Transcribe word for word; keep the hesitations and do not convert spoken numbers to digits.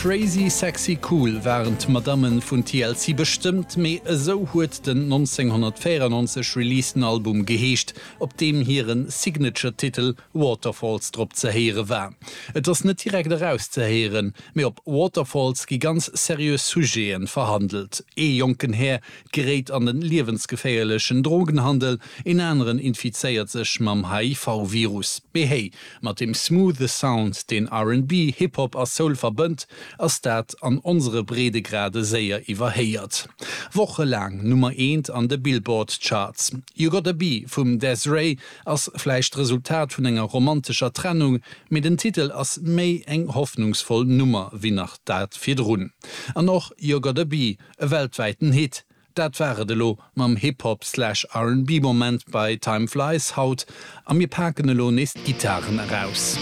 Crazy sexy cool waren d'Madammen vun T L C bestëmmt, mee esou huet den neunzehnhunnertvéierennonzeg releaseden Album geheescht, op deem hiren Signature-Titel Waterfalls drop ze héiere war. Et ass net direkt erauszehéieren, mee op Waterfalls gi ganz seriös Sujeten verhandelt. E jonken Här geréit an den liewensgeféierlechen Drogenhandel, en aneren infizéiert sech mam H I V-Virus. Mee hey, mat dem smoothe Sound, deen R and B, Hip-Hop a Soul verbënnt, ass dat an onsere Breedegrade séier iwwerhéiert. Wochelaang Nummer eent an de Billboard Charts. You Gotta Be vum Des'ree ass vläicht Resultat vun enger romantescher Trennung, mee den Titel ass méi eng hoffnungsvoll Nummer wéi nach dat virdrun. An och You Gotta Be, e weltwäiten Hit. Dat war et elo mam Hip-Hop slash R and B Moment bei Time Flies haut a mir paken elo nees d'Gittaren eraus.